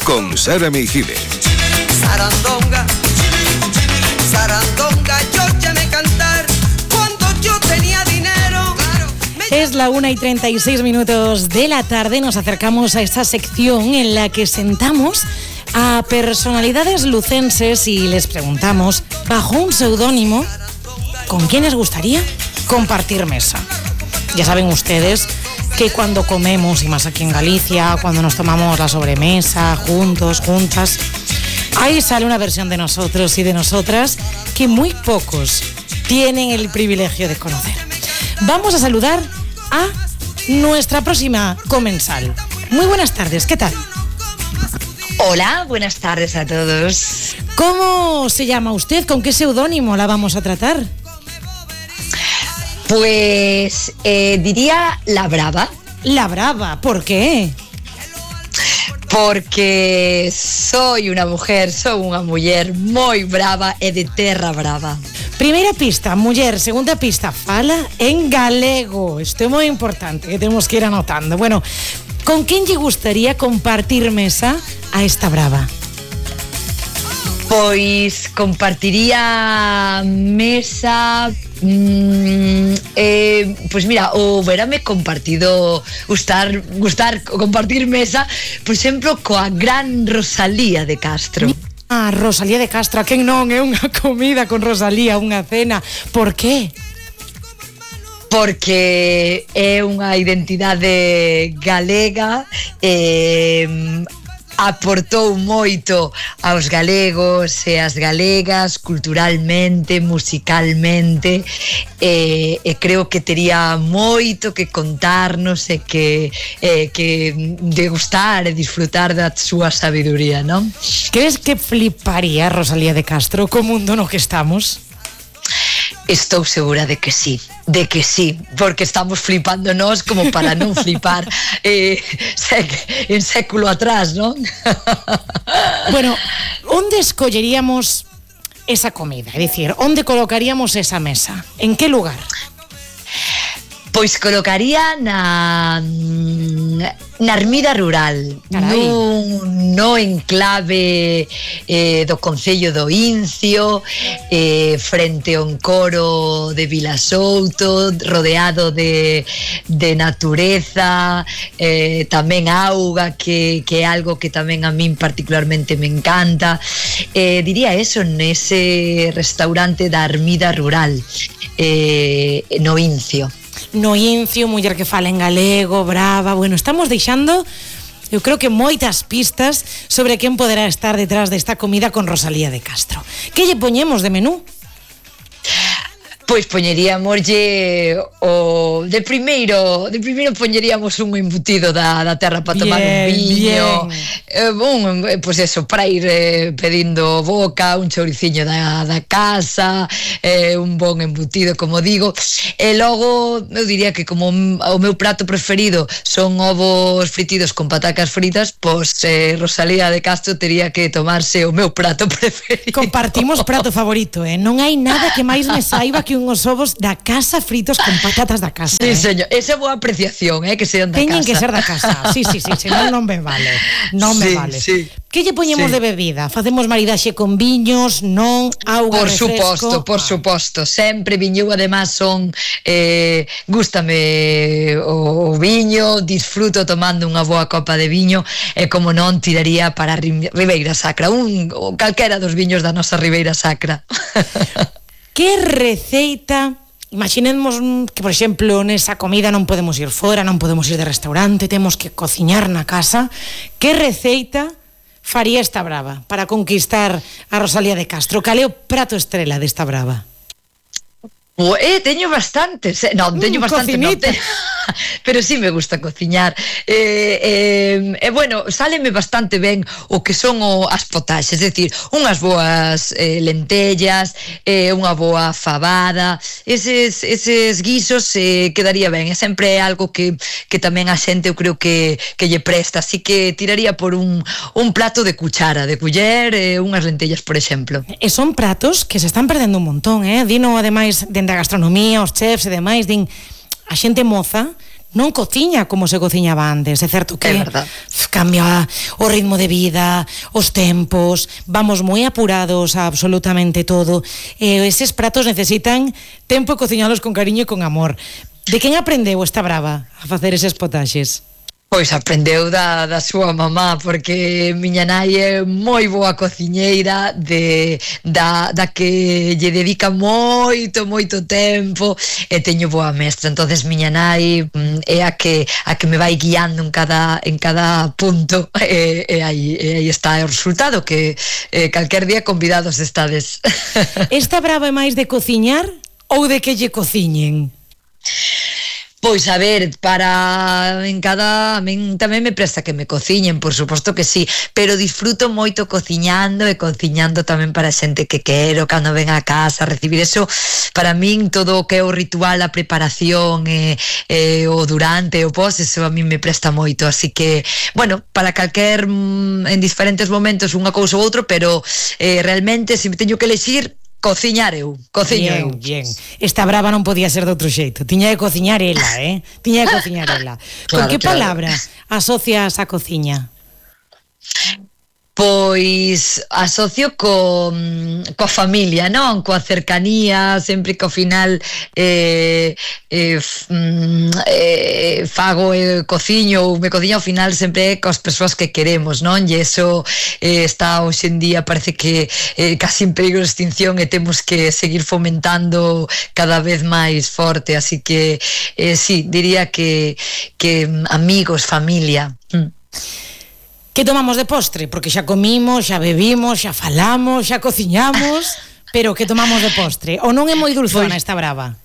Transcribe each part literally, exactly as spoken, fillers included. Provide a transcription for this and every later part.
con Sara Meijide. Sarandonga, sarandonga, yo llamé cantar cuando yo tenía dinero. Es la una y treinta y seis minutos de la tarde. Nos acercamos a esta sección en la que sentamos a personalidades lucenses y les preguntamos, bajo un seudónimo, ¿con quién les gustaría compartir mesa? Ya saben ustedes que cuando comemos, y más aquí en Galicia, cuando nos tomamos la sobremesa juntos, juntas, ahí sale una versión de nosotros y de nosotras que muy pocos tienen el privilegio de conocer. Vamos a saludar a nuestra próxima comensal. Muy buenas tardes, ¿qué tal? Hola, buenas tardes a todos. ¿Cómo se llama usted? ¿Con qué seudónimo la vamos a tratar? Pues eh, diría La Brava. La Brava, ¿por qué? Porque soy unha mujer, son unha muller moi brava e de terra brava. Primeira pista, muller. Segunda pista, fala en galego. Isto é moi importante, que temos que ir anotando. Bueno, con quen lle gustaría compartir mesa a esta brava? Pois compartiría mesa... Mm, eh, pois mira, o verame compartido gustar, gustar compartir mesa, por exemplo, coa gran Rosalía de Castro. Ah, Rosalía de Castro, a quen non é unha comida con Rosalía, unha cena. Por qué? Porque é unha identidade galega, eh, aportou moito aos galegos e as galegas culturalmente, musicalmente, e, e creo que tería moito que contarnos e que, e, que degustar e disfrutar da súa sabiduría, non? Crees que fliparía Rosalía de Castro co mundo no que estamos? Estou segura de que sí, de que sí, porque estamos flipando nós como para non flipar eh, sec, en século atrás, non? Bueno, onde escolleríamos esa comida? É dicir, onde colocaríamos esa mesa? En que lugar? Pois colocaría na na ermida rural, nun, no enclave eh, do concello do Incio, eh, frente a un coro de Vilasouto, rodeado de, de natureza, eh, tamén auga, que, que é algo que tamén a min particularmente me encanta. Eh, diría eso, nese restaurante da ermida rural, eh, no Incio. No Incio, muller que fala en galego, brava. Bueno, estamos deixando, eu creo que moitas pistas sobre quen poderá estar detrás desta comida con Rosalía de Castro. Que lle poñemos de menú? Pois poñeríamoslle o de primeiro, de primeiro poñeríamos un embutido da, da terra para tomar bien, un viño, eh, un, pois eso, para ir eh, pedindo boca, un chouriciño da, da casa, eh, un bon embutido, como digo, e logo eu diría que como o meu prato preferido son ovos fritidos con patacas fritas, pois eh, Rosalía de Castro tería que tomarse o meu prato preferido. Compartimos prato favorito, eh? Non hai nada que máis me saiba que unhos ovos da casa fritos con patatas da casa. Sí, eh? Señor, esa é boa apreciación, eh, que sean da Teñen casa. Teñen que ser da casa, sí, sí, sí, senón non me vale, non me sí, vale. Sí. Que lle poñemos sí. de bebida? Facemos maridaxe con viños, non, auga, por refresco? Por suposto, por ah. suposto, sempre viño, además son, eh, gústame o, o viño, disfruto tomando unha boa copa de viño, e como non, tiraría para a Ribeira Sacra, un, calquera dos viños da nosa Ribeira Sacra. Que receita, imaginemos que, por exemplo, nesa comida non podemos ir fora, non podemos ir de restaurante, temos que cociñar na casa, que receita faría esta brava para conquistar a Rosalía de Castro? Cal é o prato estrela desta brava? Eh, teño bastantes, eh, non, teño mm, bastante, non, te... pero sí me gusta cociñar, e eh, eh, eh, bueno, sáleme bastante ben o que son o, as potaxes, é dicir, unhas boas eh, lentellas, eh, unha boa fabada, eses, eses guisos eh, quedaría ben, é sempre algo que, que tamén a xente eu creo que, que lle presta, así que tiraría por un, un plato de cuchara, de culler, eh, unhas lentellas, por exemplo. E son pratos que se están perdendo un montón, eh? Dino, ademais, dende a gastronomía, os chefs e demais, din, a xente moza non cociña como se cociñaba antes. É certo que cambia o ritmo de vida, os tempos, vamos moi apurados a absolutamente todo, e eses pratos necesitan tempo e cociñalos con cariño e con amor. De quen aprendeu esta brava a facer eses potaxes? Pois aprendeu da, da súa mamá, porque miña nai é moi boa cociñeira, de, da, da que lle dedica moito, moito tempo, e teño boa mestra. Entonces miña nai é a que a que me vai guiando en cada en cada punto, e, e, aí, e aí está o resultado, que eh, calquer día convidados estades. Esta brava é máis de cociñar ou de que lle cociñen? Pois a ver, para en cada a min tamén me presta que me cociñen, por suposto que sí, pero disfruto moito cociñando e cociñando tamén para a xente que quero, cando ven a casa, recibir eso. Para min todo o que é o ritual, a preparación e, e o durante, o pos, eso a min me presta moito, así que, bueno, para calquer en diferentes momentos unha cousa ou outro, pero eh, realmente se me teño que elexir, cociñar eu, cociño bien, eu. Bien, esta brava non podía ser de outro xeito. Tiña que cociñar ela, eh? Tiña que cociñar ela. Con Claro, que claro. palabra asocias a cociña? Pois asocio co, coa familia, non? Coa cercanía, sempre que ao final eh, eh, eh, fago e eh, cociño ou me cociño ao final sempre coas persoas que queremos, non? E iso eh, está hoxe en día, parece que eh, casi en peligro de extinción, e temos que seguir fomentando cada vez máis forte, así que eh, sí, diría que, que amigos, familia. Mm. Que tomamos de postre? Porque xa comimos, xa bebimos, xa falamos, xa cociñamos, pero que tomamos de postre? Ou non é moi dulzona esta brava?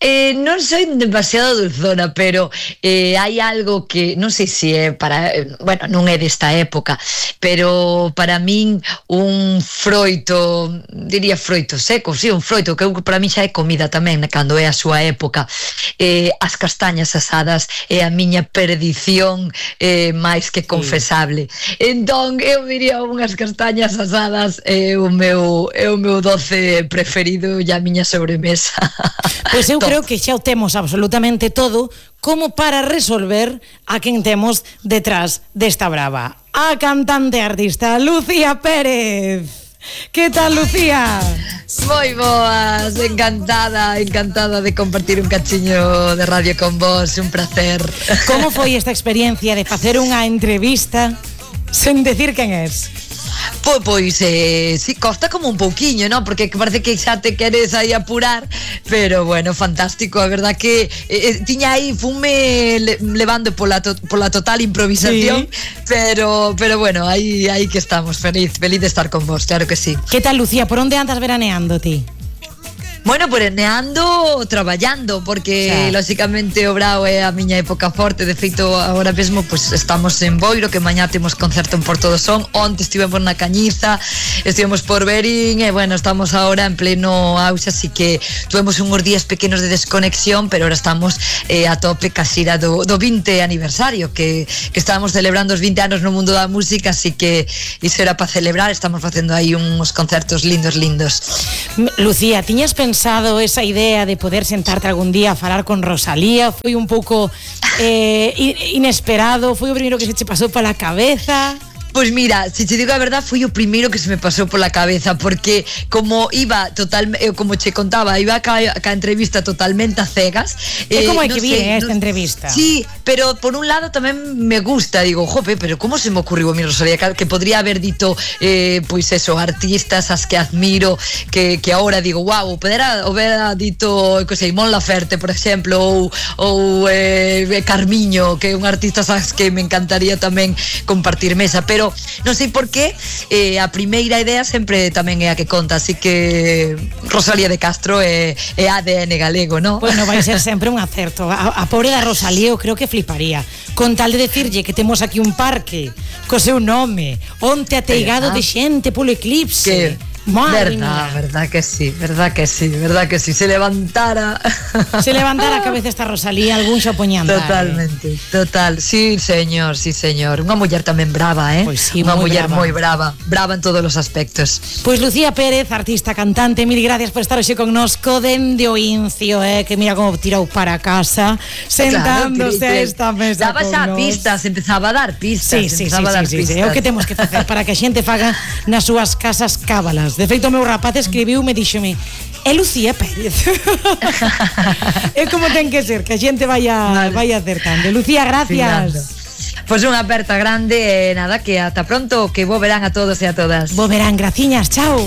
Eh, non soy demasiado dulzona, pero eh, hai algo que non sei se é para, eh, bueno, non é desta época, pero para min un froito, diría froito seco, sí, un froito que para min xa é comida tamén cando é a súa época. Eh, as castañas asadas é a miña perdición eh, máis que confesable. Sí. Entón, eu diría unhas castañas asadas é o meu é o meu doce preferido e a miña sobremesa. Pois eu creo que xa o temos absolutamente todo como para resolver a quen temos detrás desta brava. A cantante artista Lucía Pérez. Que tal, Lucía? Moi boas, encantada, encantada de compartir un cachiño de radio con vos, un placer. Como foi esta experiencia de facer unha entrevista sen decir quen és? Pois, pois eh, sí, costa como un pouquiño, ¿no? Porque parece que xa te queres aí apurar, pero bueno, fantástico, a verdad que eh, tiña aí, fume le, levando pola, to, pola total improvisación, sí. pero pero bueno, aí aí que estamos, feliz, feliz de estar con vos, claro que sí. Que tal, Lucía, por onde andas veraneando ti? Bueno, veraneando, traballando, porque xa, lógicamente o brao é a miña época forte. De feito, agora mesmo pues, estamos en Boiro, que mañá temos concerto en Porto do Son. Onte estivemos na Cañiza, estivemos por Verín, e bueno, estamos agora en pleno auxe, así que tuvemos uns días pequenos de desconexión, pero ahora estamos eh, a tope ca xira do, do vinte aniversario, que, que estábamos celebrando os vinte anos no mundo da música, así que iso era para celebrar. Estamos facendo aí uns concertos lindos, lindos. Lucía, tiñas pensado pensado esa idea de poder sentarte algún día a falar con Rosalía? Foi un pouco eh, inesperado? Foi o primeiro que se che pasou pola cabeza? Pois mira, se te digo a verdad, foi o primeiro que se me pasou pola cabeza, porque como iba total, eu como che contaba, iba ca, ca entrevista totalmente a cegas. É eh, como hai no que vir sé, esta no, entrevista. Sí, pero por un lado tamén me gusta, digo, jope, pero como se me ocurriu a mi Rosalía, que podría haber dito eh, pois eso, artistas as que admiro, que, que ahora digo, wow, podera haber dito, que sei, Mon Laferte, por exemplo, ou, ou eh, Carmiño, que é un artista as que me encantaría tamén compartir mesa, pero Pero non sei por qué eh, a primeira idea sempre tamén é a que conta, así que Rosalía de Castro é, é A D N galego, ¿no? Bueno, vai ser sempre un acerto. A, a pobre da Rosalía eu creo que fliparía con tal de decirlle que temos aquí un parque co seu nome, onte ateigado de xente polo eclipse. Que Madre verdad, mía. verdad que sí, verdad que sí, verdad que sí. Se levantara. Se levantara a cabeza esta Rosalía, algún xa poñan dar. Totalmente, total. Sí, señor, sí, señor. Unha muller tamén brava, eh? Pois sí, Unha moi muller brava. moi brava, brava en todos os aspectos. Pois Lucía Pérez, artista, cantante, mil gracias por estar hoxe connosco dende o Incio, eh, que mira como tirou para casa, sentándose Claro, a esta mesa. Daba xa pistas, empezaba a dar pistas, Sí, sí, sí, empezaba a dar sí, sí, sí. pistas. É o que temos que facer para que a xente faga nas súas casas cábalas. De feito, o meu rapaz escribiu-me, díxome, é Lucía Pérez. É como ten que ser, que a xente vaya, Vale. vaya acertando. Lucía, Finando. gracias. Pois unha aperta grande e nada, que ata pronto, que bo verán a todos e a todas. Bo verán, graciñas, chao.